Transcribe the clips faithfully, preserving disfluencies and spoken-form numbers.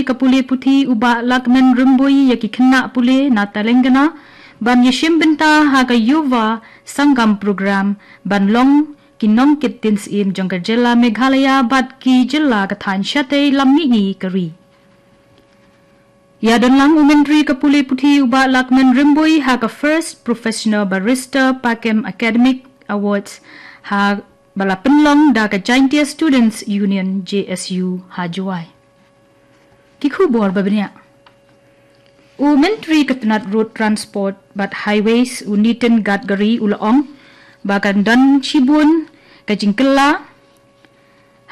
ka pule puthi u Bah Lahkmen Rymbui ïa ki khynnah pule na Telangana ban ïashim bynta ha ka Yuva Sangam Program ban long ki nongkit tien syiem jong ka jylla Meghalaya bad ki jylla ka thaiñ shatei lam mihngi ka ri. Ïadonlang u Myntri ka pule puthi u Bah Lahkmen Rymbui ha ka First Professional Barrister Pakem Academic Awards ha ba la pynlong da ka Jaintia Students Union, J S U, ha Jowai. Ki khubor ba bniah. U Myntri ka tnat Road Transport bad Highways u Nitin Gadkari u la ong ba kan don shibun ka jingkylla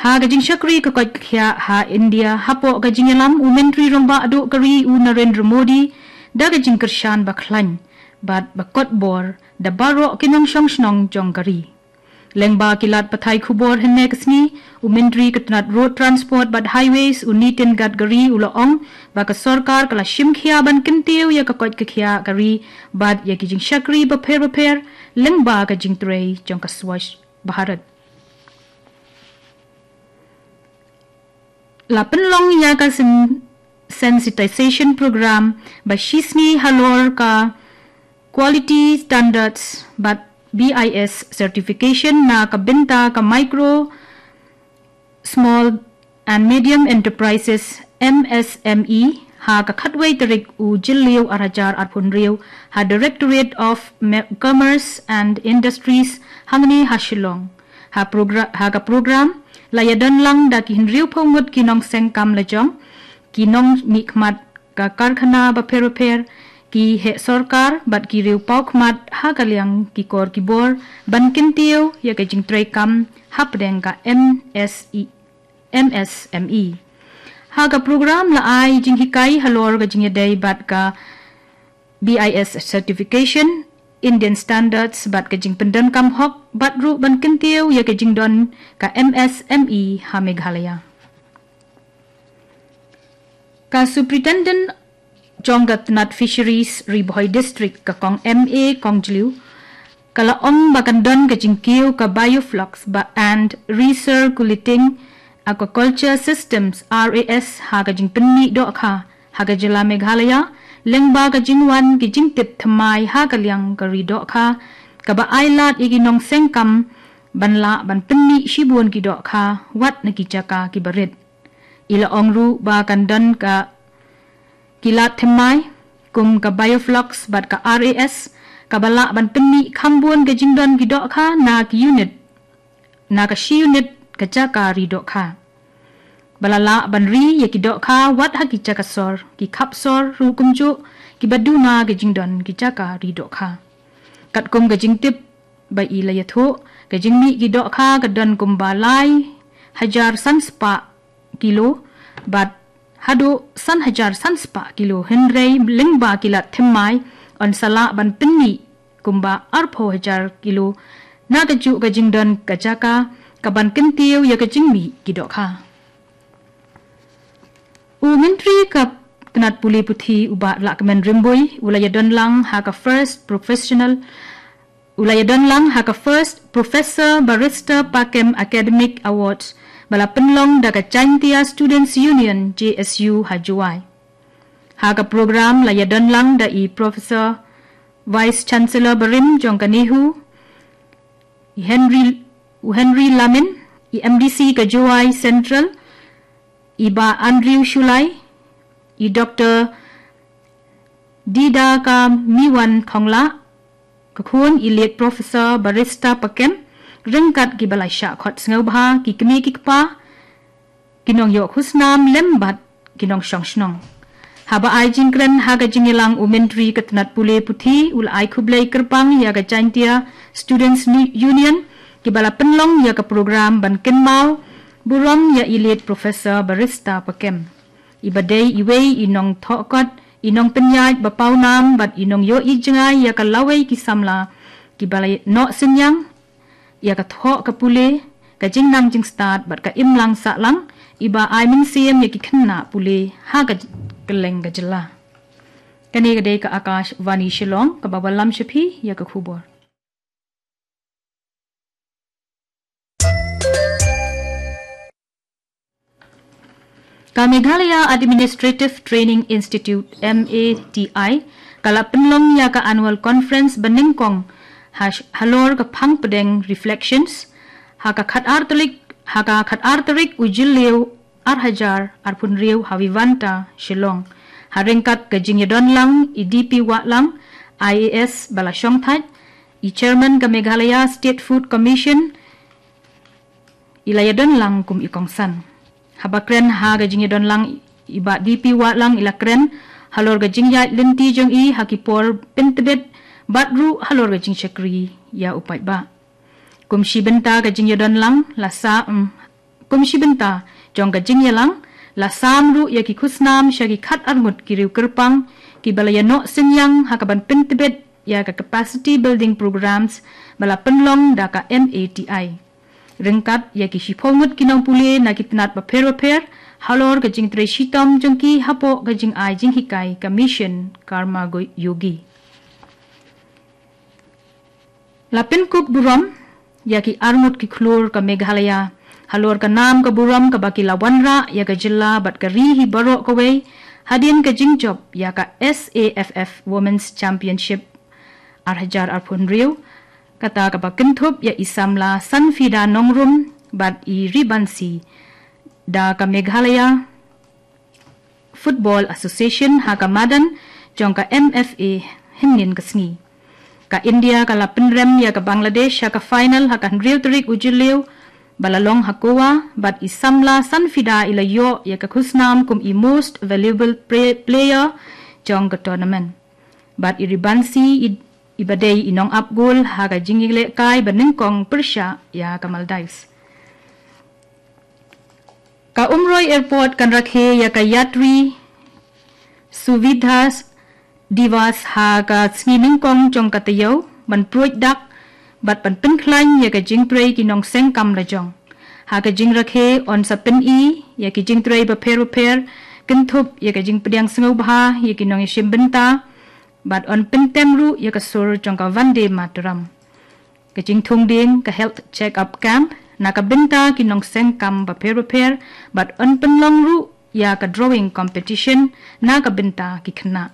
ha ka jingshakri ka koit ka khiah ha India. Hapoh ka jingïalam u Myntri Rangbah Duh ka ri u Narendra Modi da ka jingkyrshan ba khlaiñ bad ba kotbor da baroh ki nongshong shnong jong ka ri. Lyngba ki lad pathai khubor hynne ka sngi, u Myntri ka tnat Road Transport bad Highways u Nitin Gadkari u la ong ba ka sorkar ka la shim khia ban kyntiew ïa ka koit ka khiah ka ri bad ïa ki jingshakri bapher bapher lyngba ka jingtrei jong ka Swachh Bharat. La pynlong ïa ka sen- sensitization program ba shisngi halor ka quality standards bad B I S certification na ka bynta ka micro, small and medium enterprises, M S M E, ha ka khatwei tarik u Jylliew ar hajar arphew hynriew ha Directorate of Me- Commerce and Industries hangne ha Shillong. Ha progra- ha ka program la ïadonlang da ki hynriewphew ngut ki nongseng kam lajong, ki nongmihkhmat ka karkhana bapher bapher, ki heh sorkar bad ki riew paw khmat ha ka liang ki kor ki bor ban kyntiew ïa ka jingtrei kam hapdeng ka M S E, M S M E. Ha ka program la ai jinghikai halor ka jingïadei bad ka B I S certification, Indian standards bad ka jingpyndonkam hok bad ruh ban kyntiew ïa ka jingdon ka M S M E ha Meghalaya. Ka Superintendent jong ka tnat Fisheries Ri Bhoi District ka Kong M A Kongjliew ka la ong ba kan don ka jingkiew ka Biofloc ba and Recirculating Aquaculture Systems, R A S, ha ka jingpynmih dohkha ha ka jylla Meghalaya lyngba ka jingwan ki jingtip thymmai ha ka liang ka ri dohkha kaba ai lad ïa ki nongseng kam ban lah ban pynmih shibun ki dohkha wat na ki jaka kiba rit. I la ong ruh ba kan don ka ki lad thymmai kum ka Biofloc bad ka R A S kaba lah ban pynmih kham bun ka jingdon ki dohkha na ki unit, na ka shi unit ka jaka ri dohkha, ba la lah ban ri ïa ki dohkha wat ha ki jaka sor, ki khap sor ruh kumjuh kiba duna ka jingdon ki jaka ri dohkha. Katkum ka jingtip ba i la ïathuh, ka jingmih ki dohkha ka don kumba lai hajar san spah kilo bad haduh san hajar san spah kilo, hynrei lyngba ki lad thymmai yn sa lah ban pynmih kumba arphew hajar kilo na kajuh ka jingdon ka jaka kaban kyntiew ïa ka jingmih ki dohkha. U Myntri ka tnat pule puthi u Bah Lahkmen Rymbui u la ïadonlang ha ka First Professional u la ïadonlang ha ka First Professor Barrister Pakem Academic Awards ba la pynlong da ka Jaintia Students Union, J S U, ha Jowai. Ha ka program la ïadonlang da i Professor Vice Chancellor barim jong ka NEHU, i Henry, u Henry Lamin, i M D C ka Jowai Central, i Bah Andrew Shullai, i Doktor Didakamiwan Khonglah, ka khun i late Professor Barrister Pakem, ryngkat kiba la shah khot sngewbha ki kmie ki kpa, ki nongïoh khusnam lem bad ki nongshong shnong. Haba ai jingkren ha ka jingïalang u Myntri ka tnat pule puthi u la ai khublei kyrpang ïa ka Jaintia Students Ni- Union kiba la pynlong ïa ka program ban kynmaw burom ïa i late Professor Barrister Pakem, iba dei iwei i nongthoh kot, i nongpynïaid ba pawnam bad i nongïohi jngai ïa ka lawei ki samla kiba la noh synñiang ïa ka thoh ka pule, ka jingnang jingstad bad ka imlang sahlang, iba ai mynsiem ïa ki khynnah pule ha ka j- kylleng ka jylla. Kane ka dei ka Akashvani Shillong kaba wallam sha phi ïa ka khubor. Ka Meghalaya Administrative Training Institute, M A T I, ka la pynlong ïa ka annual conference banyngkong halor ka phang pdeng Reflections ha ka khatar tarik, ha ka khatar tarik u Jylliew ar hajar arphew hynriew ha Vivanta, Shillong. Ha ryngkat ka jingïadon lang i D P Wahlang, I A S ba la shongthait, i Chairman ka Meghalaya State Food Commission, i la ïadon lang kum i kongsan. Haba kren ha ka jingïadon lang i Bah D P Wahlang i la kren halor ka jingïaid lynti jong i ha ki por pyntbit bad ruh halor ka jingshakri ïa u paidbah. Kum shi bynta ka jingïadon lang la sa, mm, kum shi bynta jong ka jingïalang la sam ruh ïa ki khusnam sha ki khatar ngut ki riew kyrpang kiba la ïanoh synñiang ha kaban pyntbit ïa ka capacity building programs ba la pynlong da ka M A T I. Ryngkat ïa ki shiphew ngut ki nongpule na ki tnat bapher bapher halor ka jingtrei shitom jong ki hapoh ka jingai jinghikai ka Mission Karma Yogi. La pynkup burom ïa ki arngut ki khlur ka Meghalaya halor ka nam ka burom kaba ki la wanrah ïa ka jylla bad ka ri hi baroh kawei hadien ka jingjop ïa ka S A F F Women's Championship ar hajar arphew hynriew, kata kaba kynthup ïa i samla Sanfida Nongrum bad i Ribansi da ka Meghalaya Football Association ha ka madan jong ka M F A hynnin ka sngi. Ka India ka la pynrem ïa ka Bangladesh ha ka final ha ka hynriew tarik u Jylliew ba la long ha Goa, bad i samla Sanfida i la ïoh ïa ka khusnam kum i most valuable pre- player jong ka tournament. Bad i Ribansi i, iba dei i nongap gol ha ka jingïalehkai banyngkong pyrshah ïa ka Maldives. Ka Umroi Airport kan rakhe ïa ka Yatri Suvidha Divas ha ka sngi nyngkong jong ka taïew ban pruid dak bad ban pynkhlaiñ ïa ka jingtrei ki nongseng kam lajong. Ha ka jingrakhe yn sa pyni ïa ki jingtrei bapher bapher, kynthup ïa ka jingpdiang sngewbha ïa ki nongïashim bynta bad yn pyntem ruh ïa ka sur jong ka Vande Mataram. Ka jingthung dieng ka health check-up camp na ka bynta ki nongseng kam bapher bapher bad yn pynlong ruh ïa ka drawing competition na ka bynta ki khynnah.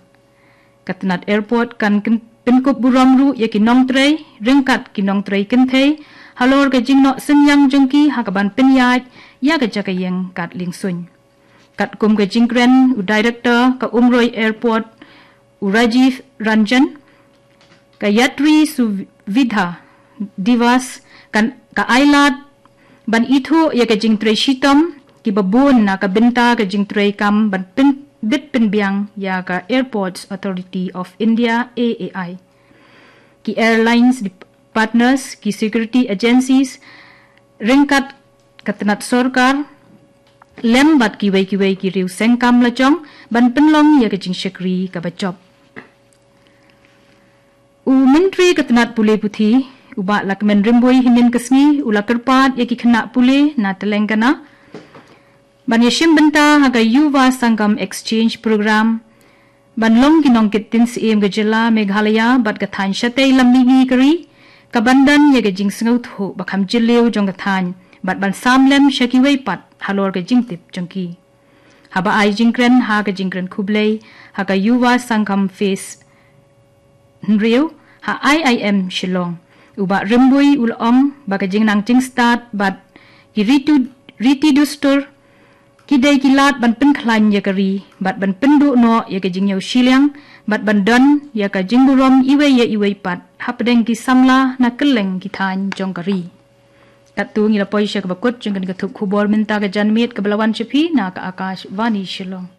Ka tnat airport kan kyn- pynkup burom ruh ïa ki nongtrei ryngkat ki nongtrei kynthei halor ka jingnoh synñiang jong ki ha kaban pynïaid ïa ka jaka ïeng kat liengsuiñ. Katkum ka jingkren u Director ka Umroi Airport, u Rajiv Ranjan, ka Yatri Suvidha Divas kan ka ailad ban ithuh ïa ka jingtrei shitom kiba bun na ka bynta ka jingtrei kam ban pyn- bit pynbiang ïa ka Airports Authority of India, A A I, ki airlines partners, ki security agencies, ryngkat ka tnat sorkar lem bad kiwei kiwei ki riew seng kam lajong ban pynlong ïa ka jingshakri kaba jop. U Myntri ka tnat pule puthi, u Bah Lahkmen Rymbui, hynnin ka sngi u la kyrpad ïa ki khynnah pule na Telangana ban ïashim bynta ha ka Yuva Sangam Exchange Program ban long ki nongkit ktien syiem ka jylla Meghalaya bad ka thaiñ shatei lam mihngi ka ri, kaban don ïa ka jingsngewthuh ba kham jylliew jong ka thaiñ bad ban sam lem sha kiwei pat halor ka jingtip jong ki. Haba ai jingkren ha ka jingkren khublei ha ka Yuva Sangam Phase hynriew ha I I M Shillong, u Bah Rymbui u la ong ba ka jingnang jingstad bad ki riti dustur ki dei ki lad ban pynkhlaiñ ïa ka ri bad ban pynduh noh ïa ka jingïew shiliang bad ban don ïa ka jingburom iwei ïa iwei pat hapdeng ki samla na kylleng ki thaiñ jong ka ri. Katto ngi la poi sha kaba kut jong kane ka thup khubor mynta ka janmiet kaba la wan sha phi na ka Akashvani Shillong.